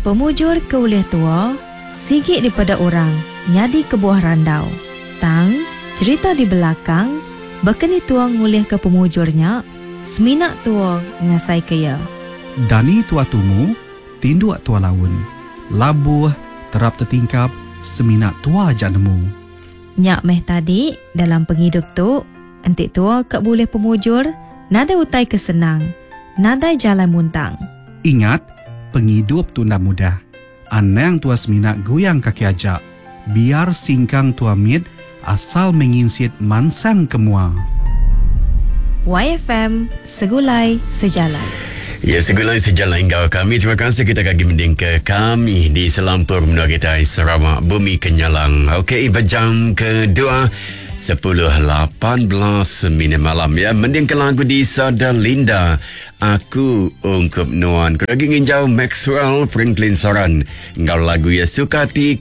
Pemujur ke ulih tua sigi dipeda orang nyadi kebuah randau. Tang, cherita di belakang baka ni tua ngulihka pemujur nya semina tua ngasaika iya. Dani tua tumu, tinduk tua laun. Labuh, terap tetingkap, semina tua aja nemu. Nya meh tadi, dalam pengidup tu, enti tua ka bulih pemujur, nadai utai ke senang, nadai jalai muntang. Ingat, pengidup tu enda mudah. Anang tua semina guyang kaki aja. Biar singkang tua mit, asal meh nginsit mansang ke mua. Waifm Segulai Sejalai. Ya segulai sejalai enggau kami. Terima kasih kita kagi mending ke kami di selampur menua kitai Sarawak Bumi Kenyalang. Okey, bejam kedua 10.18 minit malam ya. Mending ke lagu di Sada Linda. Aku ungkup nuan. Ku lagi nginjau Maxwell Franklin Soran enggau lagu ya Sukati.